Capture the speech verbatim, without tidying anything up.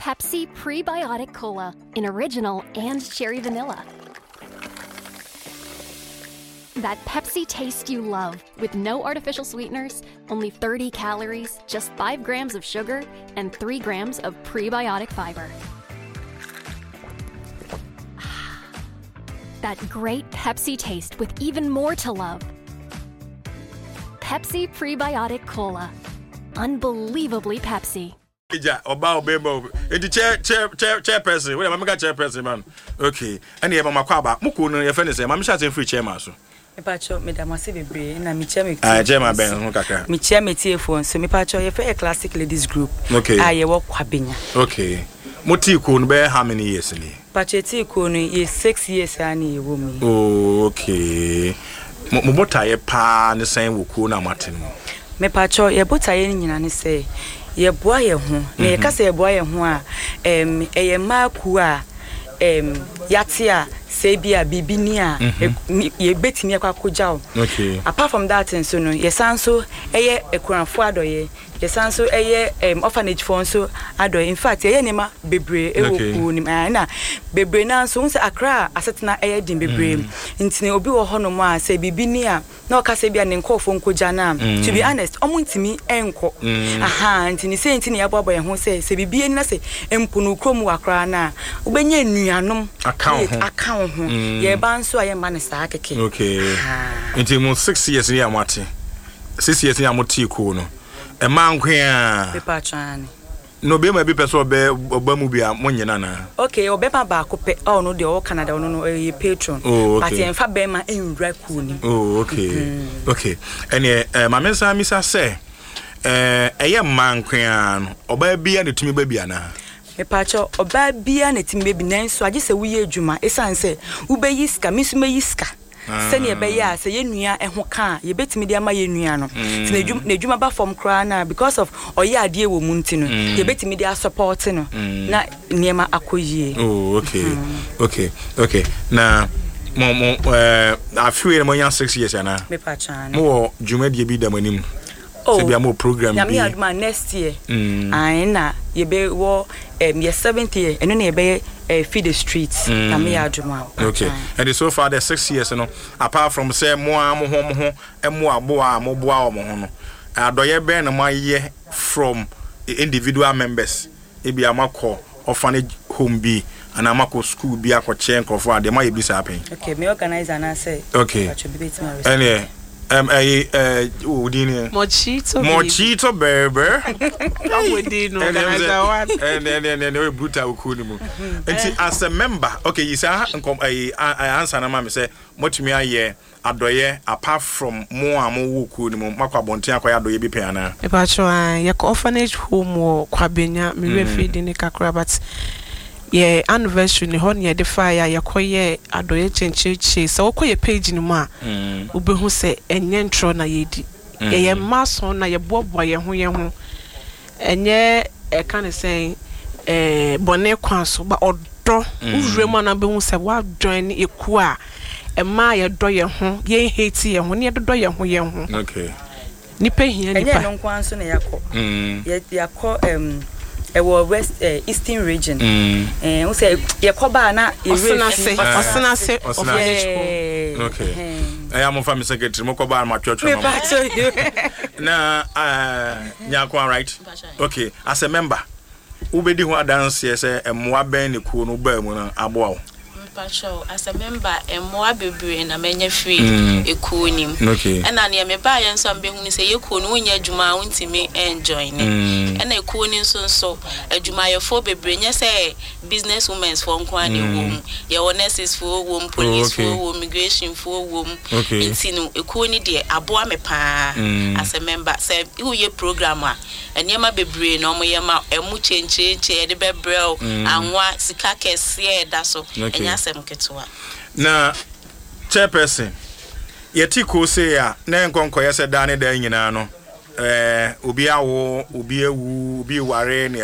Pepsi Prebiotic Cola in original and cherry vanilla. That Pepsi taste you love with no artificial sweeteners, only thirty calories, just five grams of sugar, and three grams of prebiotic fiber. That great Pepsi taste with even more to love. Pepsi Prebiotic Cola. Unbelievably Pepsi. Gya ɔba ɔbɛma obi nti chair chair chair chairperson wei maame ka chairperson man. Okay, ɛna yɛ mama kɔ aba mo kuo no yɛfɛ ne sɛ maame hyɛ ase firi chairman so. Mepakyɛw, meda mo ase bebree na mekyia me Ah, chairman bɛn ho kakra. Mekyia me tiefoɔ nso. Mepakyɛw, yɛfrɛ yɛ Classic Ladies Group Okay. a yɛwɔ Kwabenya. Okay, mo tii kuo no bɛyɛ how many years ni? Pakyɛw, tii kuo no yɛ six years a ne yɛwɔ mu yi. Oh, okay. Mo mo botaeɛ paa ne sɛn wɔ kuo no a moate no mu? Mepakyɛw, yɛ botaeɛ no nyinaa ne sɛ yɛboa yɛn ho na yɛka sɛ yɛboa yɛn ho a, ɛm, ɛyɛ mmaa kuo a ɛm, yɛate a sɛ bi a biribi ni a mm-hmm. yɛbɛtumi akɔ akɔgya wo. Okay apart from that nso no, yɛsan nso ɛyɛ akunafoɔ adɔyɛ, yɛsan nso ɛyɛ um, orphanage foɔ nso adɔyɛ. In fact, yɛyɛ nneɛma bebree ɛwɔ Okay. kuo no mu. Ɛna bebree naa nso n sɛ Akra a asetena ɛyɛ den bebree mm. Nti obi wɔ hɔnom a sɛ biribi ni a na ɔka sɛ bi a ne nkɔɔfoɔ nkɔgya no a, to be honest, ɔmo ntumi ɛnkɔ aha. Nti ne sɛ nti ne yɛaboaboa yɛn ho sɛ sɛ biribi ani na sɛ mpo no kurom wɔ akora no a, wobɛnya nnuanom aka wo ho. Aka wo ho. Yɛba nso a, yɛmma no saa kɛkɛ. Okay Aha. Nti mo six years ni a moate, six years ni a mote kuo no, ɛmaa nko a Mepa ane. Na obɛma bi pɛ sɛ ɔbɛ ɔba mu bi a, monyɛ no anaa? Okay, ɔbɛma baako pɛ a ɔno deɛ ɔwɔ Canada, ɔno no ɔyɛ patron. Oh, okay. But yɛmfa bɛrima nwura kuo nim. Oh, okay okay Ɛneɛ eh, maame nsa misa sɛ eh, ɛyɛ mmaa nko a no, ɔbaa bia na tumi ba bi anaa? Mepakyɛ, ɔbaa biara na ɛtumi bɛbi, nanso agye sɛ woyɛ adwuma, ɛsiane sɛ wobɛyi sika, me nso mɛyi sika sɛnea ɛbɛyɛ a sɛ yɛn nua ho ka a, yɛbɛtumi de ama yɛn nua no. Nti n'adwuma n'adwuma ba fam koraa na because of ɔyɛ adeɛ wɔ mu nti no, yɛbɛtumi de asupport no na nneɛma akɔ yie. Oh, okay okay okay Na mo mo eh, afei na moanya six years anaa? Mepakyɛ, ane. Mowɔ dwumadie bi da mo anim Oh, sɛ bia mowɔ program Nyame bi? Adom a, next year Mm. ae na yɛbɛwɔ um, yɛ seventh year, ɛno na yɛbɛyɛ uh, feed the streets. Nyame yɛ adom a. Okay, and so far the six years no, apart from sɛ mo a mo ho mo ho mo aboa a moboa wɔ mo ho no, adɔyɛ bɛn na moayɛ from individual members? Ebi a moakɔ orphanage home bi anaa moakɔ school bi akɔkyɛ nkurɔfoɔ adeɛ, moayɛ bi saa pɛn? Okay, me organizer anaasɛ Okay. Pakyɛ, bi bɛtumi a ɛneɛ ɛm ɛyi ɛɛ wo din ne? Mochito Baby. Mochito Berber. Ɔmo no organizer one. ɛnɛ ɛnɛ ɛnɛ ɔyɛ brutal wɔ kuo no mu. Nti as a member, okay, yi saa nkɔm ɛyi ansa na ma mi sɛ motumi ayɛ adɔyɛ apart from mo a mo wɔ kuo no mu, makɔ abɔnten akɔyɛ adɔyɛ bi pɛn anaa? Mepakyɛ, a yɛkɔ orphanage home wɔ Kwabenya, mewerɛ fi din ne kakra, but yɛ anniversary ne hɔ ne yɛde faeɛ a yɛkɔyɛ adɔyɛ kyɛnkyerɛkyerɛ. Sɛ wokɔ yɛ page no mu a, wobɛhu sɛ ɛnyɛ ntorɔ na yɛdi. Yɛyɛ mma ason na yɛboaboa yɛn ho yɛn ho, ɛnyɛ ɛka ne sɛn ɛɛ bɔne kwan so ba. Ɔdɔ wowura mu a na wobɛhu sɛ woajoin ekuo a ɛma yɛdɔ yɛn ho, yɛn hate yɛn ho ne yɛdodɔ yɛn ho yɛn ho. Okay nipa hia ɛnyɛ nipa. Ɛno nko ara nso na yɛakɔ. Mm. Yɛ- yɛakɔ um, ɛwɔ west uh, Eastern Region. Mm. Eh, wo sɛ yɛkɔ baa na yɛwerɛ Ɔsenase fi- Ɔsenase Ɔsenase. Orphanage home. Yeah. Okay. Ɛhɛn. Ɛyɛ a momfa me secretary, mokɔ baa no matwerɛtwerɛ ma mo. Mepakyɛ. Na uh, Nyankoa, right? Okay, as a member, wobɛdi ho adanseɛ sɛ mmoa bɛn ne kuo no baa mu no aboa wo? Mpakyɛw, as a member, mmoa bebree na manya firi Mm. ekuo nim. Okay. Ɛna nea mebaayɛ nso a mbɛhu ne sɛ yɛ kuo no, wonyɛ adwuma a wontumi ɛnjoin ne. Mm. Ɛna ekuo no nso nso adwumayɛfoɔ bebree, nyɛ sɛ business women foɔ nko ara na ɛwɔ mu. Yɛwɔ nurses foɔ wɔ mu, police okay. foɔ wɔ mu, immigration foɔ wɔ mu. Okay. Nti no ekuo no deɛ, aboa me paa. Mm. As a member, sɛ woyɛ program a, nneɛma bebree na ɔmoyɛ ma ɛmo kyɛnkyɛnkyɛn yɛde bɛbrɛ wo, anwa sika kɛseɛ ɛda so. Okay. Ɛnyɛ asɛm ketewa. Na chairperson, yɛte kuo sei a na nkɔnkɔyɛ sɛ daa ne daa nyinaa no, ɛɛ obi awo, obi awu, obi ware ne.